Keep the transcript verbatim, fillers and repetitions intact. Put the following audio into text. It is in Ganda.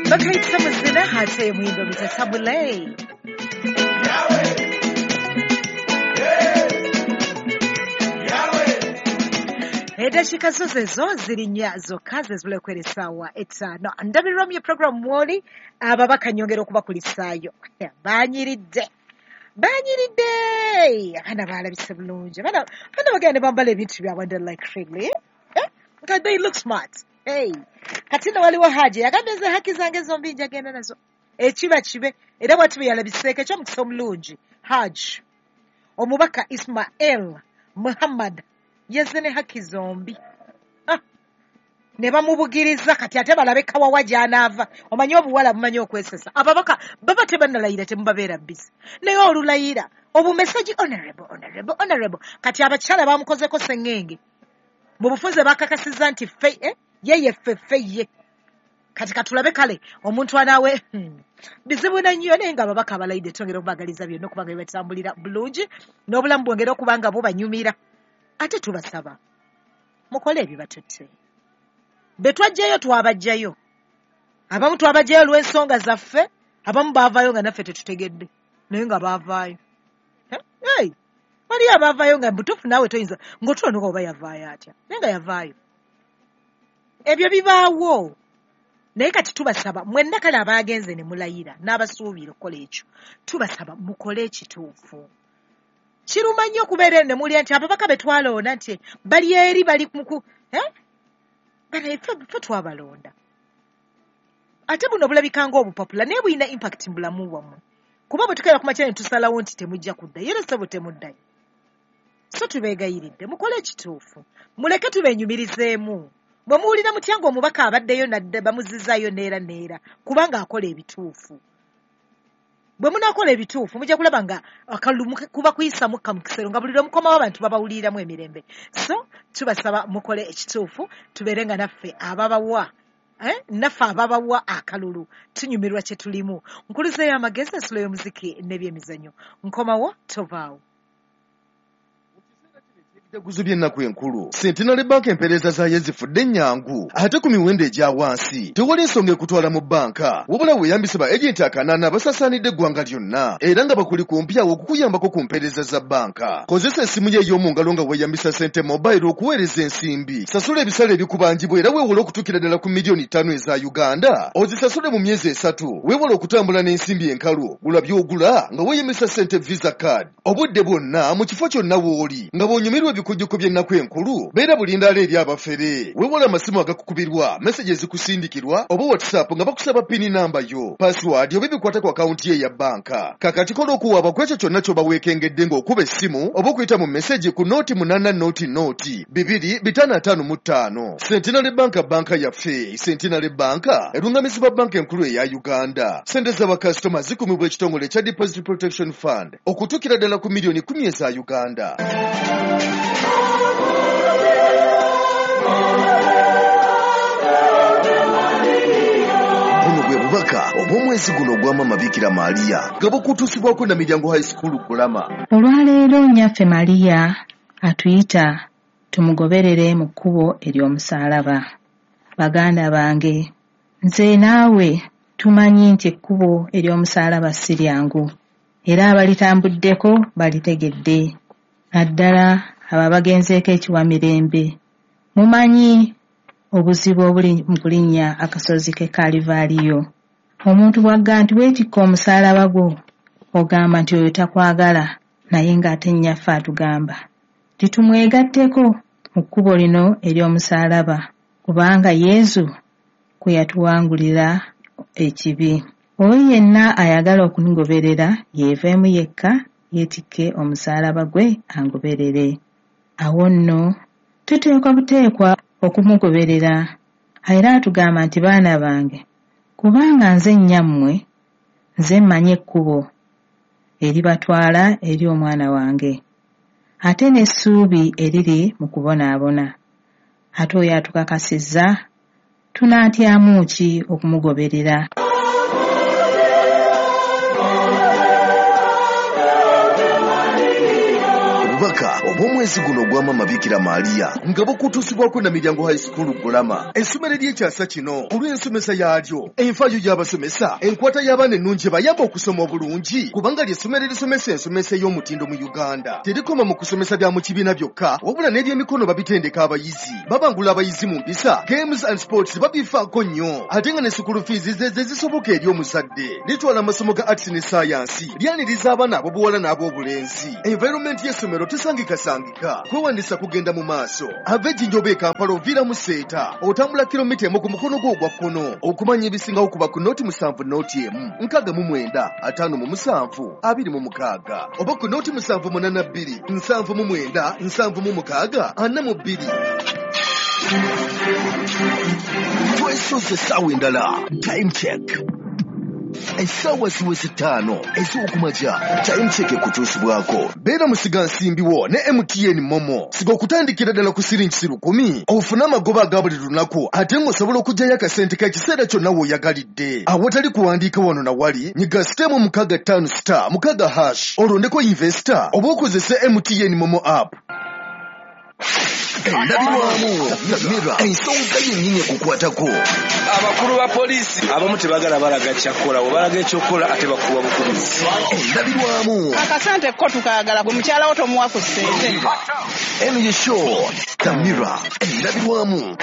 Bakayita muzina ate muyimba bita Tabulei. Edakika zo zezo ziri nnya zokka ze zibula essaawa etaano. Ndabirwamu ye program mwoli ababaka nyongera okubakulisaayo. Banyiridde. Banyiridde. Abaana baalabise bulungi. Abaana abaana bagenda ne bambala ebintu byabwe and like really. Eh? Nga they look smart. Hey. Kati nno waliwo Haji yagambye nze haki zange zombi njagenda nazo. Ekiba kibe era bw'ati bwe yalabiseeko eky'omukisa omulungi. Haji omubaka Ismail Muhammad yazze ne haki zombi. Ah, ne bamubugiriza kati ate balabe kawawa gy'anaava. Omanyi obuwala bumanyi okwesesa. Ababaka baba tebannalayira temubabeera busy. Naye olulayira obumesaji honorable honorable honorable. Kati abakyala bamukozeko sengenge. Mu bufunze bakakasizza nti ffe eh? Ye ye ffe ffe ye. Kati katulabe kale omuntu anaawe hmm. bizibu na nnyo naye nga ababaka abalayidde twongera okubagaliza byonna okubanga bibatambulira bulungi n'obulamu bwongere okuba nga bubanyumira. Ate tubasaba mukole ebibatutte. Be twajjayo twabaggyayo. Abamu twabaggyayo olw'ensonga zaffe, abamu baavaayo nga naffe tetutegedde naye nga baavaayo. Hey, waliyo abaavaayo nga butuufu naawe toyinza ng'otulonoka oba yavaayo atya naye nga yavaayo. Ebyo bibaawo. Naye kati tubasaba mwenna kale abaagenze ne mulayira n'abasuubira okukola ekyo, tubasaba mukole ekituufu. Kiruma nnyo okubeera eno ne mulya nti ababaka be twalonda nti bali eri bali muku eh? Bana ffe ffe twabalonda. Ate buno bulabika ng'obupapula naye bulina impact mu bulamu bwammwe. Kuba bwe tukeera ku makya ne tusalawo nti temujja kuddayo era ssebo temuddayo. So tubeegayiridde mukole ekituufu, muleke tubeenyumirizeemu. Bwe muwulira mutya ng'omubaka abaddeyo nadda bamuzzizaayo neera neera kubanga akola ebituufu. Bwe munaakola ebituufu mujja kulaba nga akalulu kuba kuyisa mukka mu kisero nga buli lwe mukomawo abantu babawuliriramu emirembe. So tubasaba mukole ekituufu tubeere nga naffe ababawa eh? naffe ababawa akalulu tunyumirwa kye tulimu. Nkuluzeeyo amagezi, ensulo y'omuziki n'ebyemizannyo. Nkomawo tovaawo. Ebijjaguzo by'ennaku enkulu Centenary Bank empeereza zaayo zifudde ennyangu ate ku miwendo egya wansi. Tewali nsonga ekutwala mu bbanka wabula weeyambise ba agenti akanaana abasaasaanidde eggwanga lyonna era nga bakuli kumpi awo okukuyambako ku mpeereza za bbanka. Kozesa essimu yo ey'omu ngalo nga weeyambisa Sente Mobile okuweereza ensimbi. Sasula ebisale ebikubanjibwa era weewole okutuukira ddala ku miliyoni ttaano eza Uganda ozisasule mu myezi esatu. Weewale okutambula n'ensimbi enkalu, gula by'ogula nga weeyambisa Sente Visa Card obudde bwonna mu kifo kyonna w'oli nga bw'onyumirwa ebikujjuko by'ennaku enkulu. Beera bulindaala eri abafere. Weewale amasimu agakukubirwa, meseji ezikusindikirwa oba WhatsApp nga bakusaba pini namba yo, password oba ebikwata ku akawunti ye eya bbanka. Kakati kola okuwaaba ku ekyo kyonna ky'oba weekengedde ng'okuba essimu oba okuyita mu meseji ku nooti munaana nooti nooti bibiri bitaano ataano mu ttaano. Centenary Bank banka yaffe. Centenary Bank erungamizibwa banka enkulu eya Uganda. Ssente z'abakasitoma zikumibwa ekitongole ekya Deposit Protection Fund okutuukira ddala ku miliyoni kumi eza Uganda. Buno bwe bubaka obw'omwezi guno ogwa Maama Bikira Maria nga bukutuusibwako na Miryango High School Kulama. Olwaleero nnyaffe Maria atuyita tumugoberere mu kkubo ery'omusaalaba. Baganda bange, nze naawe tumanyi nti ekkubo ery'omusaalaba si lyangu era abalitambuddeko balitegedde, naddala abo abagenzeeko ekiwamirembe. Mumanyi obuzibu obuli mu kulinnya akasozi k'e Kalivaaliyo. Omuntu bw'agamba nti weetikka omusaalaba gwo, ogamba nti oyo takwagala, naye ng'ate nnyaffe atugamba titumwegatteko mu kkubo lino ery'omusaalaba kubanga Yesu kwe yatuwangulira ekibi. Oyo yenna ayagala okungoberera yeeveemu yekka yeetikke omusaalaba gwe angoberere. Awo nno tuteekwa buteekwa okumugoberera. Era atugamba nti baana bange, kubanga nze nnyammwe, nze mmanyi ekkubo eribatwala eri omwana wange, ate n'essuubi eriri mu kubonaabona. Ate oyo atukakasizza, tunaatyamu ki okumugoberera? Obubaka Obubaka obw'omwezi guno ogwa Maama Bikira Maria nga bukutuusibwako Namiryango High School Gulama, essomero ery'ekyasa kino olw'ensomesa yaalyo, enfaayo y'abasomesa, enkwata y'abaana ennungi bayamba okusoma obulungi, kubanga ly'essomero erisomesa ensomesa ey'omutindo mu Uganda. Terikoma mu kusomesa bya mu kibiina byokka, wabula n'ebyemikono babitendeka abayizi, babangula abayizi mu mpisa, games and sports babifaako nnyo, ate nga ne school fees ze ze zisoboka eri omuzadde. Litwala amasomo ga arts ne science, lyaniriza abaana ab'obuwala n'ab'obulenzi. Environment y'essomero tesangikasangika, kwewandiisa kugenda mu maaso. Ava Ejjinja oba e Kampala oviira mu Seeta, otambula kilomita emu ku mukono gwo ogwa kkono. Okumanya ebisingawo kuba ku noti musanvu noti emu nkaaga mu mwenda ataano mu musanvu abiri mu mukaaga oba ku noti musanvu munaana bbiri nsanvu mu mwenda nsanvu mu mukaaga ana mu bbiri. Twesoose essaawa endala, time check. Essaawa ziweze ttaano ez'okumakya, time check ekutuusibwako. Beera musigansimbi wo ne M T N Momo. Siga okutandikira ddala ku siringi lukumi ofune amagoba aga buli lunaku, ate ng'osobola okuggyayo akasente k'ekiseera kyonna w'oyagalidde. Awatali kuwandiika wano na wali, nyiga sitemu mukaaga ttaano star mukaaga hash olondeko investor oba okozese M T N Momo app. Endabirwamu Namira, ensonga yennyini ekukwatako. Abakulu ba poliisi abamu tebagala balaga kyakukola, bwe balaga ekyokukola ate bakuwa bukubizi. Endabirwamu akasente ko tukaagala, gwe mukyala wo tomuwa ku ssente. Eno ye show Tamira, endabirwamu.